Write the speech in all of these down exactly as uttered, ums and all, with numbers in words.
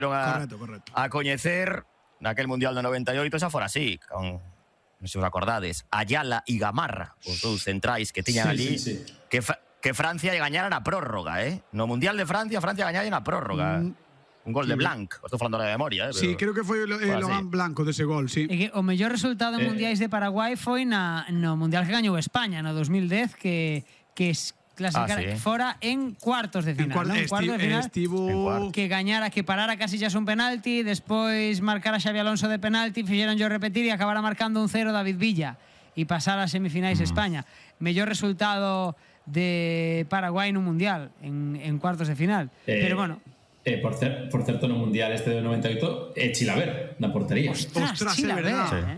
a, correcto, correcto. a coñecer naquel Mundial do noventa e oito xa fora así, con, non sei se os acordades, Ayala e Gamarra, os dous centrais que tiñan sí, ali, sí, sí. que, que Francia lle gañara na prórroga, eh? No Mundial de Francia, Francia gañara na prórroga. Mm. Un gol sí. de Blanc, estou falando de memoria, eh, pero... Sí, creo que foi o eh, Logan Blanco dese gol, sí. E que o mellor resultado en eh. mundiais de Paraguai foi na no Mundial que gañou España no dos mil dez, que que clasificara ah, sí. fora en cuartos de final, en, cuart ¿no? en cuartos de final estivo... que gañara, que parara Casillas un penalti, despois marcara Xavi Alonso de penalti, fixeron yo repetir e acabara marcando un cero David Villa e pasara a semifinais mm. España. Mellor resultado de Paraguai no Mundial en, en cuartos de final. Eh. Pero bueno, Eh, por, cer por certo, no Mundial este de noventa e oito é eh, Chilaver, na portería. Ostras, Ostras Chilaver, é verdad. Eh?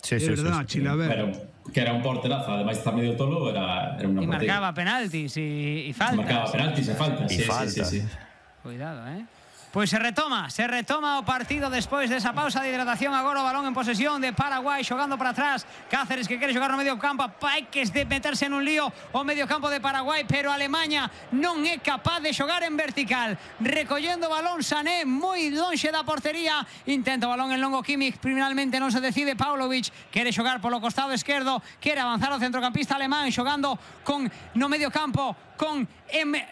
Sí, sí, sí, verdad, sí, sí. Chilaver. Pero que era un porterazo, ademais está medio tolo, era, era una y portería. marcaba penaltis e, y faltas. Marcaba penaltis e faltas, y sí, faltas. Sí, sí, sí. Cuidado, eh. Pois se retoma, se retoma o partido despois desa pausa de hidratación. Agora o balón en posesión de Paraguai, xogando para atrás. Cáceres que quere xogar no medio campo, hai que meterse nun lío o medio campo de Paraguai, pero Alemanha non é capaz de xogar en vertical. Recollendo o balón Sané moi lonxe da portería, intenta o balón en longo Kimmich, finalmente non se decide. Paulovic quere xogar polo costado esquerdo, quere avanzar o centrocampista alemán, xogando con no medio campo con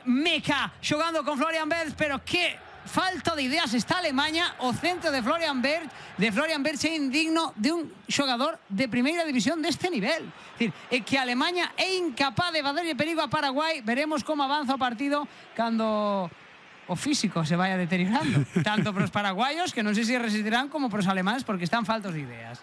Meka, xogando con Florian Wirtz, pero que falta de ideas está Alemanha. O centro de Florian Wirtz de Florian Wirtz é indigno de un xogador de primeira división deste nivel. É dicir, é que Alemanha é incapaz de facerlle perigo a Paraguai. Veremos como avanza o partido cando o físico se vaya deteriorando, tanto para os paraguayos, que non sei se resistirán, como para os alemanes, porque están faltos de ideas.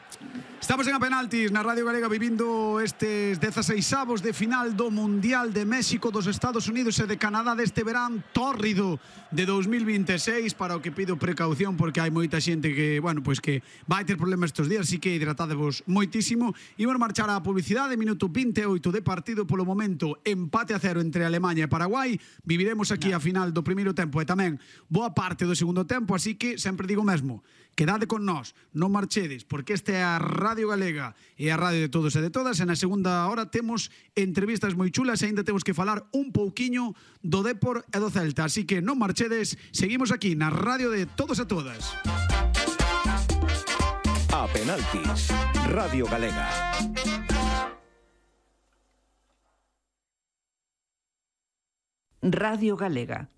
Estamos en a penaltis na Radio Galega vivindo estes dezaseisavos de final do Mundial de México, dos Estados Unidos e de Canadá deste verán tórrido de dos mil vinte e seis, para o que pido precaución porque hai moita xente que, bueno, pois que vai ter problemas estes días, así que hidratadevos moitísimo. Imos marchar á publicidade, minuto vinte e oito de partido, polo momento empate a cero entre Alemanha e Paraguai. Viviremos aquí a final do primeiro tempo e tamén boa parte do segundo tempo, así que sempre digo mesmo, quedade con nós, non marchedes, porque esta é a Radio Galega e a radio de todos e de todas. E na segunda hora temos entrevistas moi chulas e ainda temos que falar un pouquiño do Depor e do Celta, así que non marchedes, seguimos aquí na radio de todos e todas. A penaltis, Radio Galega. Radio Galega.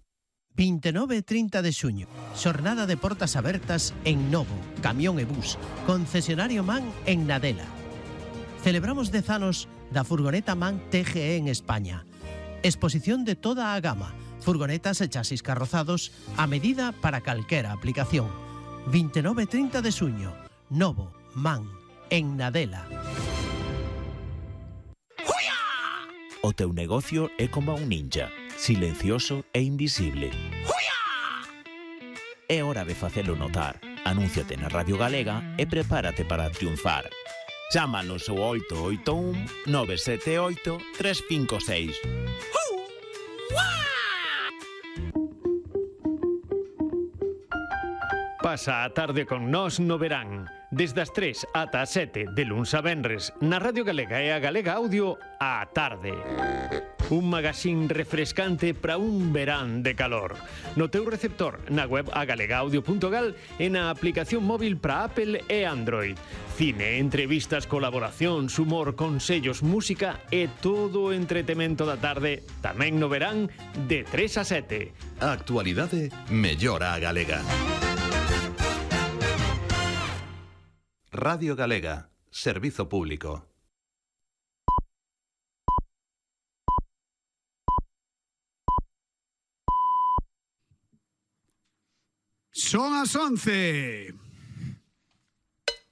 vinte e nove e trinta de xuño, xornada de portas abertas en Novo, Camión e Bus, concesionario MAN en Nadela. Celebramos dez anos da furgoneta MAN T G E en España. Exposición de toda a gama, furgonetas e chasis carrozados a medida para calquera aplicación. vinte e nove e trinta de xuño, Novo, MAN, en Nadela. O teu negocio é como un ninja, silencioso e invisible. É hora de facelo notar. Anúnciate na Radio Galega e prepárate para triunfar. Chámanos ao oito oito un nove sete oito tres cinco seis. Pasa a tarde con nós no verán. Desde as tres ata as sete de luns a venres na Radio Galega e a Galega Audio á tarde. Un magazín refrescante para un verán de calor. No teu receptor, na web agalegaudio punto gal e na aplicación móvil para Apple e Android. Cine, entrevistas, colaboracións, humor, consellos, música e todo o entretemento da tarde, tamén no verán, de tres a sete. A actualidade mellora a galega. Radio Galega, servizo público. Son as once.